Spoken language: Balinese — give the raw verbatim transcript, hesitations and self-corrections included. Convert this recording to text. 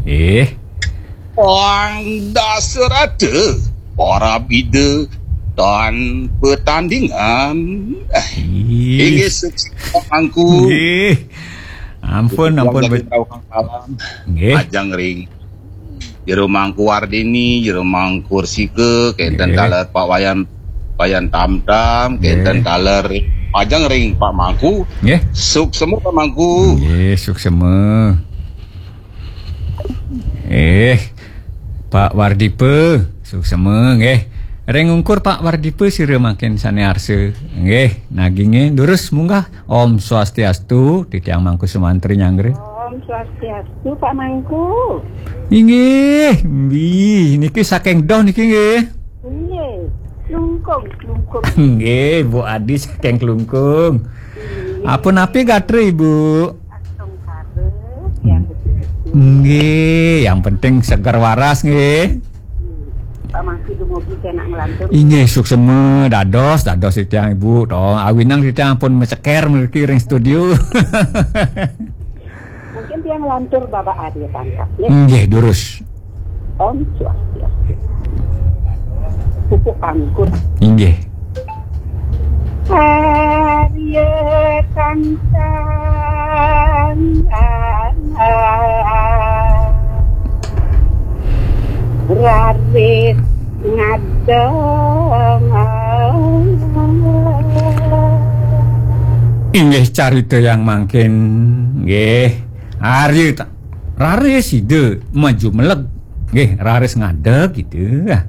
Eh. Pang Dasarata, para bida tan petandingan. Inggih, sukses Pak Mangku. Nggih. Ampun, ampun, bet- Nggih. Ajeng ring Jero Mangku Wardini, Jero Mangku Rsika, kenten taler Pak Wayan, Wayan Tamtam, kenten taler ajeng ring Pak Mangku. Nggih. Suksema Pak Mangku. Nggih, suksema. Eh, Pak Wardipa, suksema nggih. Ring ungkur Pak Wardipa sira mangkin sane arsa. Nggih, naginge durus munggah. Om Swastiastu, titiang Mangku Sumantri nyanggra. Om Swastiastu, Pak Mangku. Inggih, mbi, niki saking Doh niki nggih. Nggih, Klungkung, Klungkung. Nggih, Bu Adi saking Klungkung. Nggih. Ampun napi gatra, Ibu? Astungkara, yang betul. Nggih, yang penting seger waras nggih. Pak Mangku dumugi kenak nglantur. Inggih, suksema dados, dados titiang Ibu. Tong awinang titiang pun meceker mriki ring studio. Mungkin tiang nglantur Bapak Arya Tangkap, ya. Nggih, durus. Om Swastiastu. Pupuk anggur. Inggih. Arya Tangkap. Raris ngadeng. Inggih, carita yang mangkin, nggih. Arya ta-, raris sida maju meleg. Nggih, raris ngadeg gitu. Ah.